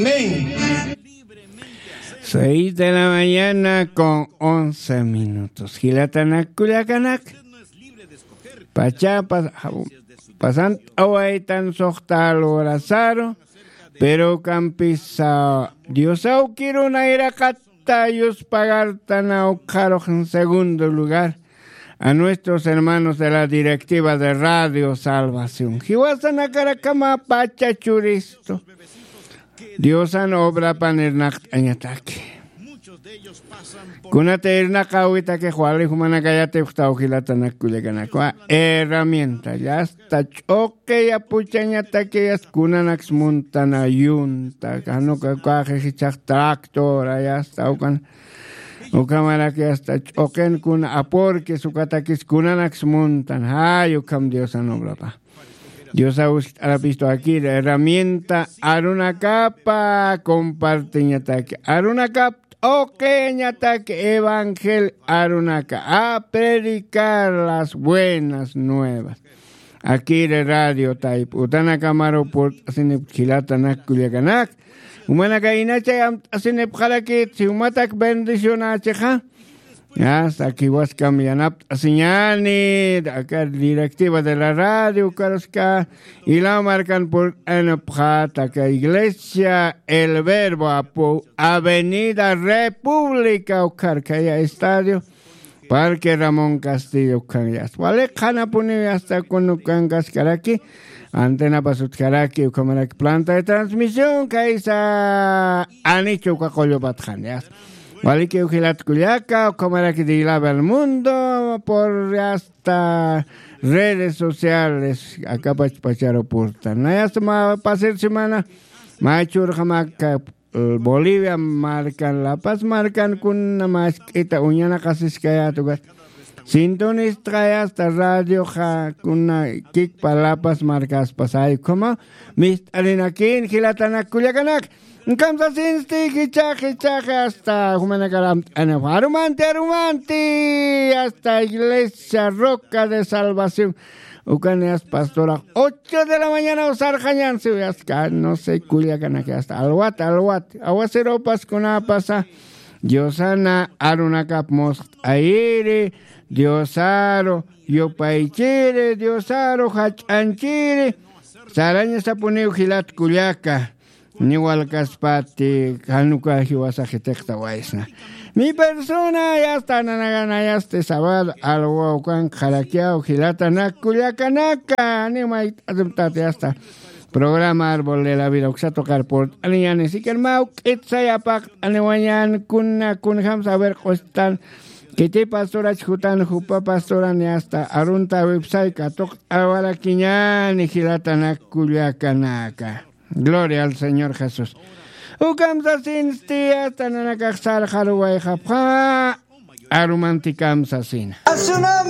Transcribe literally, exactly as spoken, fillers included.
Amén. Seis de la mañana con once minutos. Jilatanak kullakanak. Pacha pas-, pasant'awaytan suxta lorasaru, pero ukampisa Dios awkiruna iraqata yuspagartan ukxarux en segundo lugar a nuestros hermanos de la directiva de Radio Salvación. Jiwasanakarakama pacha churistu. Diosan obrapan irnaqt'añataki. Kunata irnaqäwitakix wali jumanakayatix jilatanak kullakanakwa herramienta, yasta ch'uqi yapuchañataki, yasta kunanaks muntana yunta, kanuka kaxix ichax tractora, yasta ukan, ukhamaraki yasta ch'uqin kuna apurkis ukatakis kunanaks muntan, jay ukham Diosan obrapa. Diosa uskt'arapistu akir herramienta arunakapa compartiñataki. Arunakap t'uqiñataki evangel arunaka. A predicar las buenas nuevas. Akir radio tayp utanakamaru purt'asinip jilatanak kullakanak. Umanaka inachay amt'asinipxarakit, si umatak bendicionachixa. Hasta aquí waskam yanapt'asiñani, aka directiva de la radio, ukaruska, ilaw markan purt'anipxat, aka iglesia El Verbo apu, Avenida República, ukharkaya estadio, Parque Ramón Castillo, ukhan yasta. Wali qhanapuniw yasta kunukankaskaraki, antenapas utjaraki, ukhamaraki planta de transmisión, kaysa anichu uka qullupatxan yasta. Walikiw jilat kullaka, ukhamaraki de Ilave al Mundo, por hasta redes sociales, akapach pacharu purtan. Nayasta mä pasir semana, maychurxamaka, eh, Bolivia markan, La Paz markan kuna mask'ita uñanaqasiskayäta ukat. Sintonistxay hasta radioxa kuna kikpa La Paz markaspasay, ukhama mist'arinakin jilatanak kullakanak. Kamsasinsti jichax, jichax, hasta jumanakar amt'anipxi. Arumanti, arumanti, hasta Iglesia Roca de Salvación. Ukan yasta pastorax ocho de la mañana usarxañan, siw yasta, no sé, kullakanak yasta. Alwat, alwat. Awasirupas kunapasa. Diosana arunakap musqt'ayiri, Diosaru yupaychiri, Diosaru jach'anchiri. Sarañasapuniw jilat kullaka. Niwalkaspati, kanuka jiwasa jitiqtawaysna. Mi persona, yasta nanagana, yasta sábado, alwaw kan qharakiyaw, jilatanak kullakanaka, ni mayt'atumtati, yasta. Programa Árbol de la Vida, uksatuqar purt'aniñani, sikan mawk'it sayapaqt'aniwañan, kuna, kunjam saber q'ustan, kiti pastorach jutan, jupa pastoran, yasta, arunta website, katuqt'awarakiñani, jilatanak kullakanaka. Gloria al Señor Jesús. Ukham sasinsti, hasta nanakax sarxaruwayxapxa, arumantikam sasina. A su nombre.